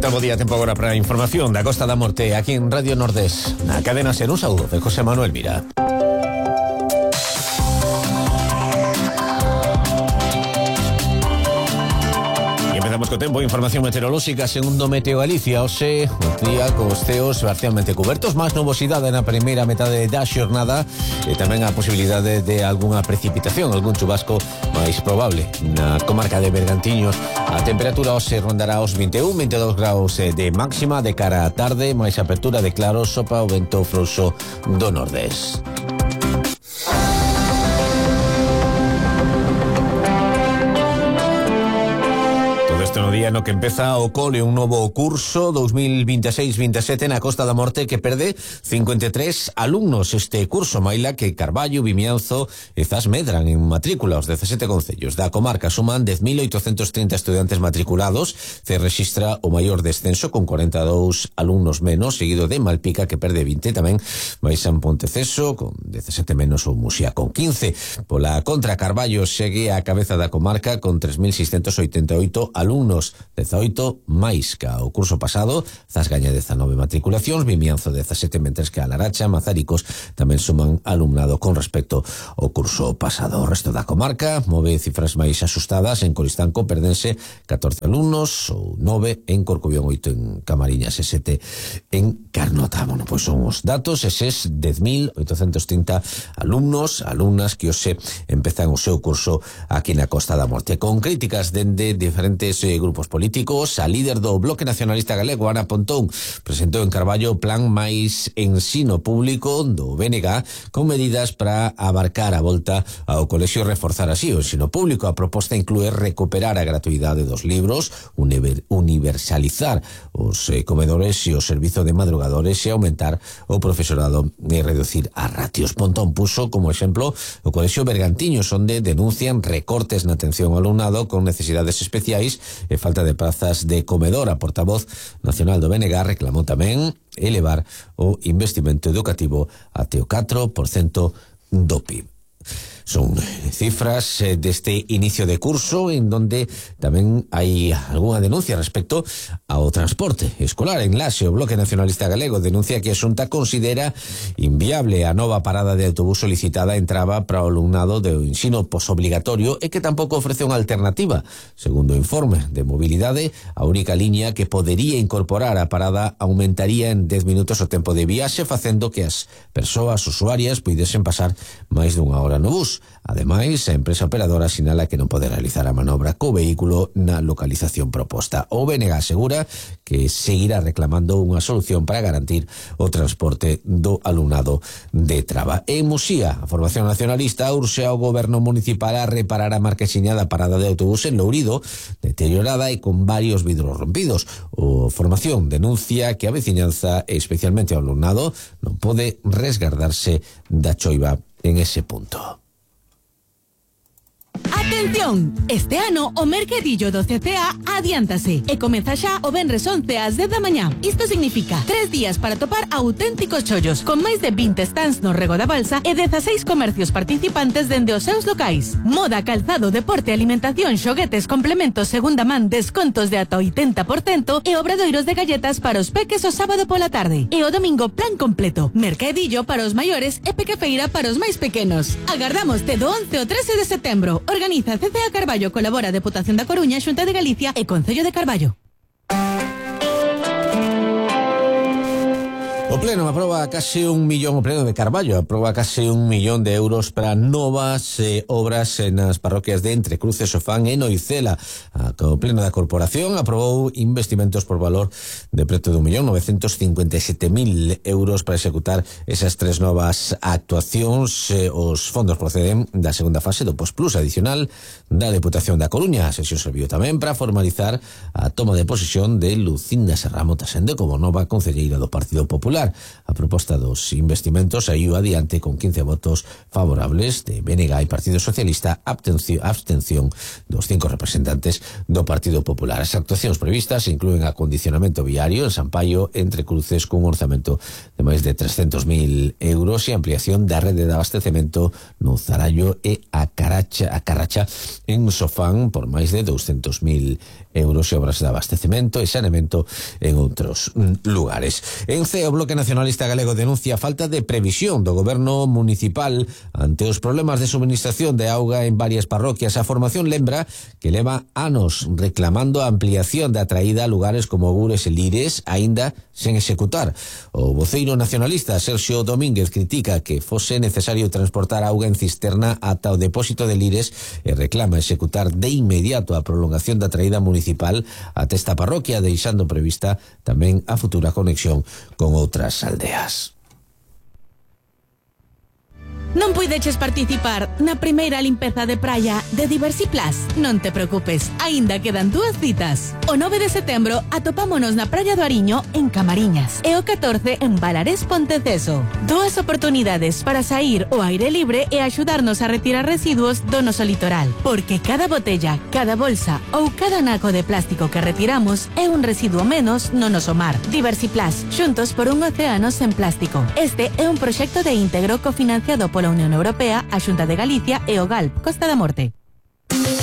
tal? Bo día, tempo agora para a información da Costa da Morte aquí en Radio Nordés. Na cadena SER, un saúdo de José Manuel Mira. Empezamos co tempo, información meteorolóxica segundo Meteo Galicia. Hoxe, un día cos ceos parcialmente cubertos, máis nubosidade na primeira metade da xornada e tamén a posibilidade de algunha precipitación, algún chubasco máis probable na comarca de Bergantiños. A temperatura hoxe rondará os 21-22 graus de máxima de cara á tarde, máis apertura de claros, sopra o vento frouxo do nordés. No día no que empeza o cole un novo curso 2026-27 na Costa da Morte que perde 53 alumnos este curso, maila que Carballo, Vimianzo e Zas medran en matrícula. Os 17 concellos da comarca suman 10.830 estudiantes matriculados. Se registra o maior descenso con 42 alumnos menos, seguido de Malpica que perde 20, tamén Baixan Ponteceso con 17 menos ou Muxía con 15. Pola contra, Carballo segue a cabeza da comarca con 3.688 alumnos, 18 máis ca o curso pasado. Zas gaña 19 matriculacións, Vimianzo 17, mentres que a Laracha, Mazaricos tamén suman alumnado con respecto ao curso pasado. O resto da comarca move cifras máis asustadas. En Coristanco perdense 14 alumnos, ou 9 en Corcubión, 8 en Camariñas e 7 en Carnota. Bueno, pois son os datos eses 10.830 alumnos, alumnas que hoxe empezan o seu curso aquí na Costa da Morte. Con críticas dende diferentes grupos políticos, a líder do Bloque Nacionalista Galego, Ana Pontón, presentou en Carballo o plan máis ensino público do BNG con medidas para abarcar a volta ao colexio e reforzar así o ensino público. A proposta inclúe recuperar a gratuidade dos libros, universalizar os comedores e o servizo de madrugadores e aumentar o profesorado e reducir as ratios. Pontón puso como exemplo o colexio Bergantiños, onde denuncian recortes na atención ao alumnado con necesidades especiais e falta de prazas de comedor. A portavoz nacional do BNG reclamou tamén elevar o investimento educativo até o 4% do PIB. Son cifras deste inicio de curso en donde tamén hai algunha denuncia respecto ao transporte escolar. En Laxe, o Bloque Nacionalista Galego denuncia que a Xunta considera inviable a nova parada de autobús solicitada en Traba para o alumnado do ensino posobligatorio e que tampouco ofrece unha alternativa. Segundo o informe de mobilidade, a única liña que podería incorporar a parada aumentaría en 10 minutos o tempo de viaxe, facendo que as persoas usuarias puidesen pasar máis dunha hora no bus. Ademais, a empresa operadora sinala que non pode realizar a manobra co vehículo na localización proposta. O BNG asegura que seguirá reclamando unha solución para garantir o transporte do alumnado de Traba. En Muxía, a Formación Nacionalista urxe ao goberno municipal a reparar a marquesiña da parada de autobús en Lourido, deteriorada e con varios vidros rompidos. O Formación denuncia que a veciñanza, e especialmente o alumnado, non pode resgardarse da choiva en ese punto. Atención! Este ano o mercadillo do CCA adiántase e comeza xa o venres 11 ás 10 da mañá. Isto significa 3 días para topar auténticos chollos con máis de 20 stands no Rego da Balsa e 16 comercios participantes dende os seus locais. Moda, calzado, deporte, alimentación, xoguetes, complementos, segunda man, descontos de ata 80% e obradoiros de galletas para os peques o sábado pola tarde. E o domingo plan completo. Mercadillo para os maiores e pequefeira para os máis pequenos. Agardámoste do 11 ao 13 de setembro. Organiza CCA Carballo, colabora a Deputación da Coruña, Xunta de Galicia e Concello de Carballo. O Pleno aproba case 1 millón, o Pleno de Carballo aproba case 1 millón de euros para novas obras nas parroquias de Entrecruces, Sofán e Noicela. O Pleno da Corporación aprobou investimentos por valor de preto de 1.957.000 euros para executar esas 3 novas actuacións. Os fondos proceden da segunda fase do Postplus adicional da Deputación da Coruña. A sesión serviu tamén para formalizar a toma de posesión de Lucinda Serramo Tasende como nova concelleira do Partido Popular. A proposta dos investimentos saiu adiante con 15 votos favorables de BNG e Partido Socialista, abstención dos 5 representantes do Partido Popular. As actuacións previstas inclúen acondicionamento viario en San Paio, Entrecruces, cun orzamento de máis de 300.000 euros e ampliación da rede de abastecemento no Zarallo e a Carracha en Sofán por máis de 200.000 euros e obras de abastecemento e saneamento en outros lugares. En CEO, o Bloque Nacionalista Galego denuncia a falta de previsión do goberno municipal ante os problemas de suministración de auga en varias parroquias. A formación lembra que leva anos reclamando a ampliación da traída a lugares como Gures e Lires, aínda sen executar. O voceiro nacionalista Sergio Domínguez critica que fose necesario transportar auga en cisterna ata o depósito de Lires e reclama executar de inmediato a prolongación da traída municipal ata esta parroquia, deixando prevista tamén a futura conexión con outras aldeas. Non puideches participar na primeira limpeza de praia de Diversiplus? Non te preocupes, aínda quedan 2 citas. O 9 de setembro atopámonos na Praia do Ariño en Camariñas e o 14 en Balarés Ponteceso. 2 oportunidades para sair ao aire libre e axudarnos a retirar residuos do noso litoral, porque cada botella, cada bolsa ou cada naco de plástico que retiramos é un residuo menos no noso mar. Diversiplus, xuntos por un océano sen plástico. Este é un proxecto de íntegro cofinanciado pola Unión Europea, a Xunta de Galicia e o GALP, Costa da Morte.